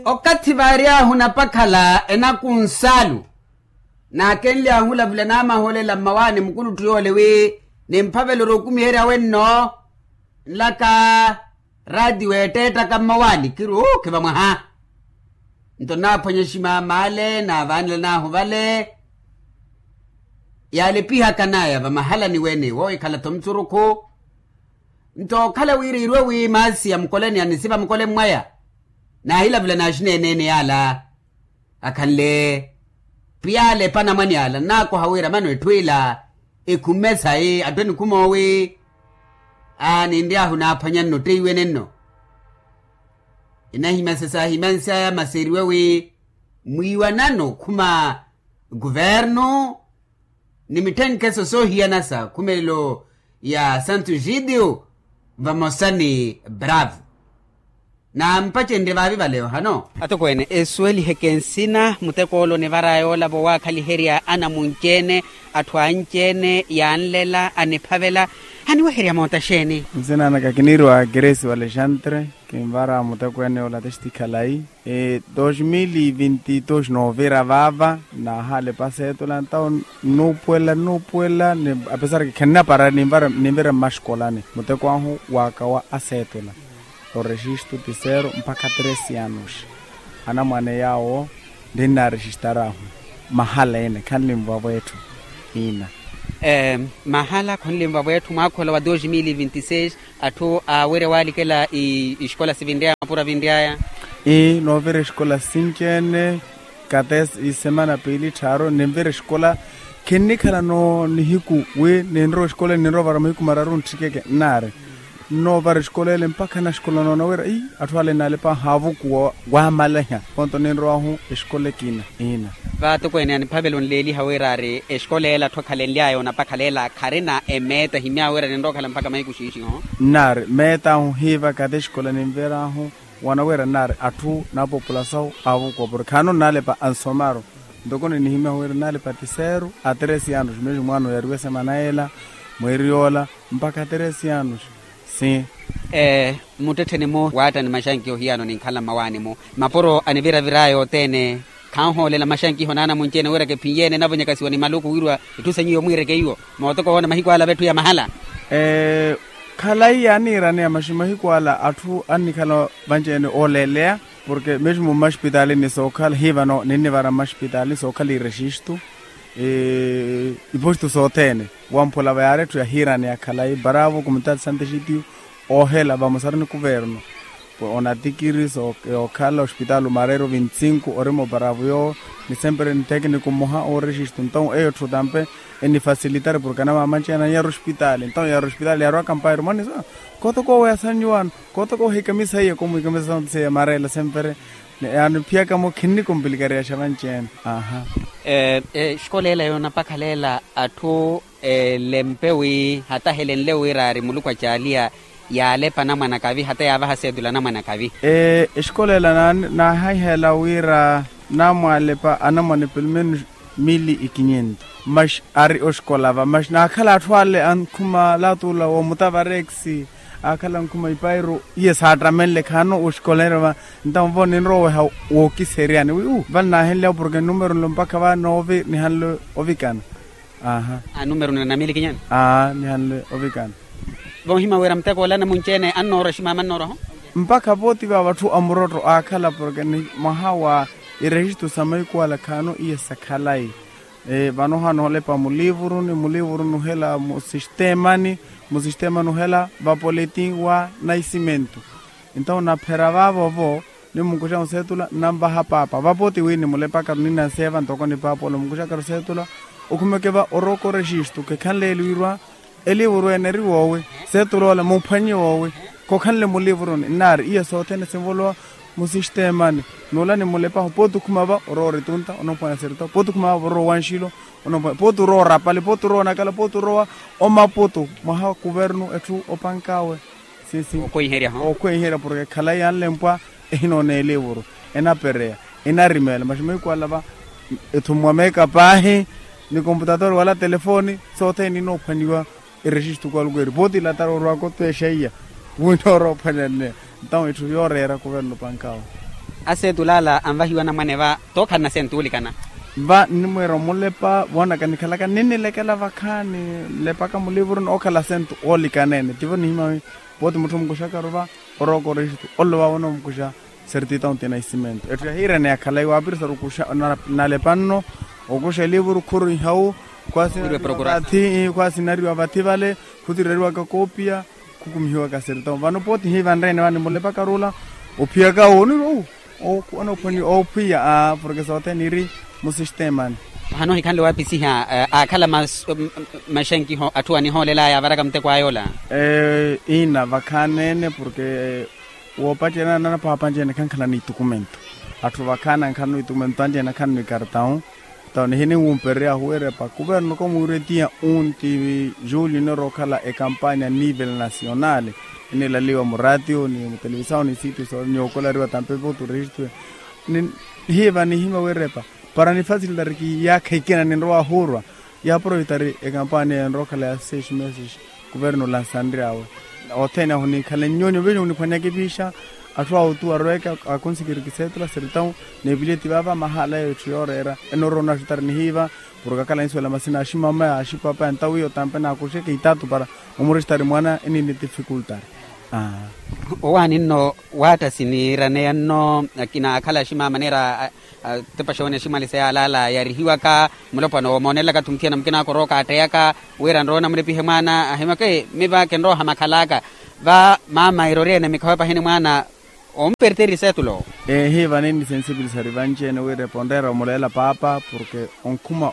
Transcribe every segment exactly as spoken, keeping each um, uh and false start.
Okathi vaaryahu napakhala enakunsaalu, naakenly'ahu olavula naamahoolela mmawaani mukulutthu yoole wi nimphavela orokumiherya wenno nlaka raatiyo eetteettaka mmawaani kiri ookhiva mwaha. Nto naaphwanya ximaamaale naavaanela naahu vale yaalepihaka naya vamahalani wene wookhala-tho mutsurukhu. Nto okhala wira iirwe wi maasi ya mukoleni anisiva mukole mmwaya naahilavula naaxineeneene yaala akhanle. Piyaale epanamwani ala nnaakoha wira mano etthu ila ekhumme sayi atthu enikhuma owi aninry'ahu naaphwanya nno tteiwene nno. Enahimya sesaahimansy'aya masi eriwe wi mwiiwanano okhuma kuvernu ni mitthenkeso soohiyana sa khumelelo ya santo egidio vamosa ni bravo. Naampacenrye vaavi vale ohano. Atokweene esuweliheke nsina mutek'ole onivaraya yoolava owaakhaliherya anamunci-ene atthu anci-ene yaanlela aniphavela. Aniweherya moota xeeni? Nsina naka kiniiriwa keresi wa alexandre. Kinvara mutekweene yoolata exitikhalayi. Dos mil vinti dos noovira vaava naahalepa aseetula ntawo nnuupuwela nnuupuwela. Apesar ke khennaparari ninvira mmaxikolani muteko ahu waakawa aseetula. Orexistu ti sero mpakha tresi anuxi. Anamwane yaawo ninnaarexistarahu mahala ene khanlinvavo etthu. Ina. Mahala khonlinvavo etthu mwaakhola wa dos mil vinti seis. Atthu aawirya waalikela ixikola sivinryaya mapuro avinryaya. Ii noovira exikola sinci-ene. Kate isemana piili tthaaru ninvira exikola. Khinnikhala nihiku wi ninrowa exikola ninrowa ovara mahiku mararu ntthikeke nnaari. Nnoovara exikola ele mpakha naxikola noona wira ii atthu ale naalepa haavukuwa waamaleha. Ponto ninrowahu exikola ekina. Ina. Vaatokweene aniphavela onleeliha wira ari exikola ela atthu akhalenly'aya onapakhala ela kharina emeeta ehimy'awe wira ninrowa okhala mpakha mahiku xiixi oho. Nnaari meet'ahu hiiva kate exikola ninver'ahu. Wana wira nnaari atthu na populasawu aavukuwa porke khaano nnaalepa ansomaru. Ntoko ninihimyahu wira nnaalepa tiseru a tresi anuxi meesi mwaano yariwe semana ela mweeri yoola mpakha tresi anuxi. Sim. Muttettheni-mu waattani maxanki ohiyano ninkhala mmawaani-mu mapuro aniviraviraya othene. Khanhoolela maxankiho naanamunci-ene wira kephinyeene navonyakasiwa ni maluku wirwa etthu sa nyuwo mwiireke iwo mootoka owoona mahiku ala vetthu ya mahala. Khalayi yaaniiraneya maxi mahiku ala atthu annikhala vanci-ene ooleeleya porke mesmo mmaxipitali ni sookhala hiivano ninnivara mmaxipitali sookhala irexistu. Ipostu sothene wamphula va yaari etthu yahiiraneya khalayi bravo kumutali santexitiyo. Oohela vamosaru ni kuverno onatikiri yookhala ospitaali omareiro vinti sinku orimo bravo yoowo. Ni sempre ni tekiniku mmoha oorexistu nton eyo etthu tampe enifasilitari porke anamaamanci-ene anyaru ospitaali nton yaru ospitaali yaarwaka mpairo mwanisa. Kootoko owo yasannyuwano kootoko owo hikamisa iye komwikamisa sante seiya mareela sempre. Yaaniphiyaka-mo khinnikumpilikariyaxa vanci-ene. Aha. Exikola ela yoonapakhala ela atthu elempe wi hata helenle wira ari muluku acaaliya yaalepa anamwane akavi hata yaavaha seetula anamwane akavi. Exikola ela naahihela wira naamwaalepa anamwane pelumenu mili ikinyentu. Maxi ari oxikola va maxi naakhala atthu ale ankhuma latula woomutavareksi aakhala ankhuma ipairu iye saattamenle khaano oxikola ene va. Ntawo vo ninrowa oweha wookiseeryani wi u vale naahenlyawo porke numero nlo mpakha va noovi nihanle ovikana. Aha. Anumero nina namili kinyana. Aa nihanle ovikana. Vohima wira muteko ola namunci-ene annoorwa ximaama annoorwa-ho. Mpakha pooti vaava atthu amurotto aakhala porke ni mwaha wa irexistu sa mahiku ala khaano iye sa khalayi. Vano hano olepa mulivuruni mulivuruni ohela musisteemani musisteemani ohela vapoletin wa naisimentu. Entawo naphera vaavo-vo nimunkuxa museetula nnanvaha paapa vapooti wi nimulepakaru ninanseeva ntoko ni paapa ole munkuxakaru seetula. Okhumeke va orooka orexistu kekhanle eliwirwa. Eliivuru ene eri woowi? Seetula ole muphwanye woowi? Khokhanle mulivuruni nnaari iya sothene sinvolowa musisteemani. N'ula nimulepahu pooti okhuma va orowa oritunta onophwanya serita pooti okhuma va orowa owanxilo. Onophwanya pooti orowa orapale pooti orowa onakala pooti orowa omaputu mwaha kuvernu etthu opank'awe. Sinsi. Okhweiherya porke khalayi yanlempwa. Ehinoona eliivuru enapereya enarimeela maxi mahiku ala va. Ethumiwa meeka paahi ni komputatori wala telefoni sothene ninoophwaniwa. Erexistu kwaluku eri pooti ilatara orwaka otwexa iya winooroophwanyanne. Ntawo etthu yooreera kuvernu pank'awe. Aseetula ala anvahiwa anamwane va tookhalana asentu oolikana. Va nnimweera omulepa voonaka nikhalaka ninnilekela vakhaani nlepaka mulivuruni ookhala asentu oolikana ene tivo nihimya wi. Pooti mutthu omukuxakaru va orooka orexito olelo vaavo onoomukuxa. Sertita onti na isimentu etthu yahiirene yakhala iwaapirisaru okuxa nalepa nno okuxa elivuru khuru ihawu khwaasinariwa vathi vale khutireriwaka koopiya khukumihiwaka sertita vano pooti hiivanreene vani mulepakaru ola. Ophiyaka onirwa owu. Okhwani oophwiya porke sothene iri musisteemani. Vano ohikhanle waapisiha aakhala maxenkiho atthu anihoolelaya avaraka muteko aya ola. Iina vakhaani-ene porke woopacerya nanaphaapa anci-ene khankhala n'itukumento. Atthu vakhaani ankhala n'itukumento anci-ene ankhala n'ikartawu. Tawo nihinimwumpererya ahuwerepa kuverno komwiiretiya unti julio inoorookhala ekampanya nivel nasional. Enilaliwa muraatiyo ni mutelevisawu ni sitiyo soola niyookolariwa tampe votu rexistuwe. Nihiiva nihimya werepa para nifasilitari kiyaakha ikina ninrowa ahuurwa. Yaaproveitari ekampanya enrookhala ya seis meses. Kuverno lansanryawe othene ahu nikhale nnyonyo vejo muniphwanyaka epiixa. Atthu awo tu aroweke akonsikiri kiseetula sertita. Neepileti vaava mahaala yeyo etthu yooreera enooroona axutari nihiiva. Porke akhala anisuwela masina aximama axipapa entawiyo tampe naakuxeke itaatu para omurexitari mwaana enini tifikultari. Owaani nno waatta siniiraneya nno akina akhala aximama neera atepa xoonexa imaliseya alaala yarihiwaka mulopwana woomoonelelaka-tho muthiyana mukina akorooka aatteyaka wira nroona mulepihe mwaana ahimyaka miva kinrooha makhalaka. Va mama eroriyene mikhawe pahini mwaana omperteri seetulo. Eehi vani nisensipilisari vanci-ene wira eponreera omuleela paapa porke onkhuma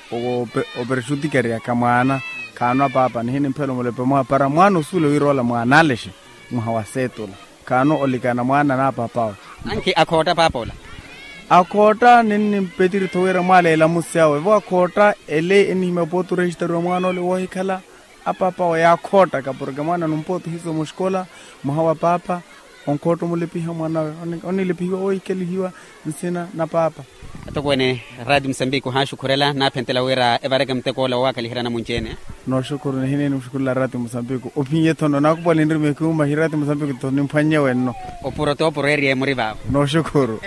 operexutikeryaka mwaana. Khaano apaapa nihinimphela omulepe mwaha para mwaana osuwele wira ola mwaana alexe mwaha wa seetula. Khaano olikana mwaana n'apaap'awe. Ankhi akhootta paapa ola. Akhootta ninnimpetiri-tho wira mwaala elamusi awe vo akhootta ele enihimya pooti orexistariwa mwaana ole woohikhala. Apaap'awe yaakhoottaka porke mwaana numpooti ohiisa omuxikola mwaha wa paapa. Onkhootta omulepiha mwaan'awe onilepihiwa oohikelihiwa nsina na paapa. Atokweene raati musambiki ohaaxukhurela naaphentela wira evareke muteko ola woowakalihira anamunci-ene. Nooxukhuru nihineni muxukhurela raati musambiki ophiye-tho nno naakupuwale nrimiye kihumahi raati musambiki-tho nimphwannye wenno. Opuro t'opuro eeriye muri vaavo. Nooxukhuru.